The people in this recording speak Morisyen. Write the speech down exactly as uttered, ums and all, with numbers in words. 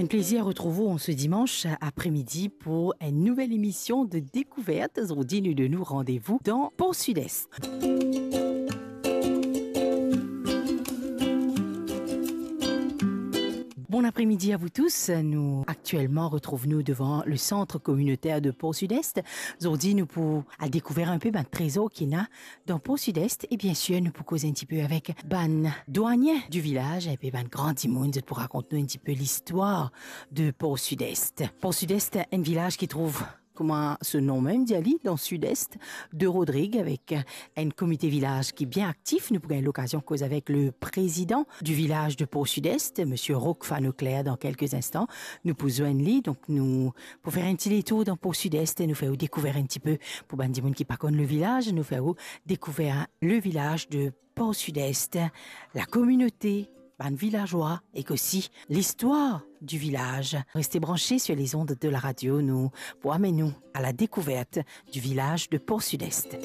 Enn plezir retrouv ou an se dimanch apremidi pou enn nouvel emision de Dekouvert. Zordi nou donn ou randevou dan Port Sud-Est. Bon apremidi a vous tous. Nou aktielman retrouv nou devan le Centre Communautaire de Port Sud-Est. Zordi nou pou al dekouver enn pe bann trezor ki ena dan Port Sud-Est. E bien sir, nou pou koz enn tipe avek bann dwanin di vilaz, enn pe bann gran dimoun, zot pou rakont nou enn tipe listwar de Port Sud-Est. Port Sud-Est, enn vilaz ki trouv, kouma so nom mem dir li, dan Sud-Est de Rodrig, avek enn komite vilaz ki bien aktif. Nou pou gagn lokazion koz avek le prezidan di vilaz de Port Sud-Est, Misie Rock Fanoclair, dan kelke instan. Nou pou zwenn li, donk nou pou fer enn ti detour dan Port Sud-Est e nou fer ou dekouver enn tipe, pou bann dimoun ki pa konn le vilaz, nou fer ou dekouver le vilaz de Port Sud-Est, la kominote, bann vilazwa, ek osi listwar di vilaz. Reste branche sur les ondes de la radio, nou pou amenn ou à la découverte du village de Port Sud-Est.